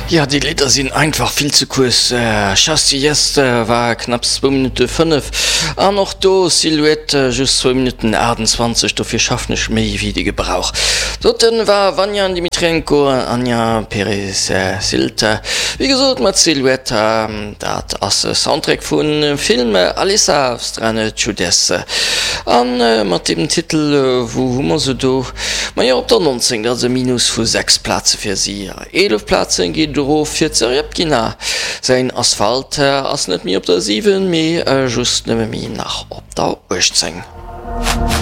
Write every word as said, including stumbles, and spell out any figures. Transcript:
Ja déi Lidder sinn einfach vill ze kuerz. Schastje Jest war knapps zwou Minutte fënnef an och do Silhouette just zwou Minutten aachtanzwanzeg, dofir schaffen ech méi wéi de Gebrauch. Doten war Vanja Dmitrenko an Anja Peresild, wéi gesot mat Silhouette, dat ass e Soundtrack vum Film Alisa v Strane Tschudess an mat deem Titel wou hu mer se do? Majo op der nonzéng, dat ass e Minus vu sechs Plaze fir si. Eelef Plazen geet et erof fir d'Serjepkina. Säin Asphalt ass net méi op der siwen, mee just nëmme méi nach op der uechtzéng.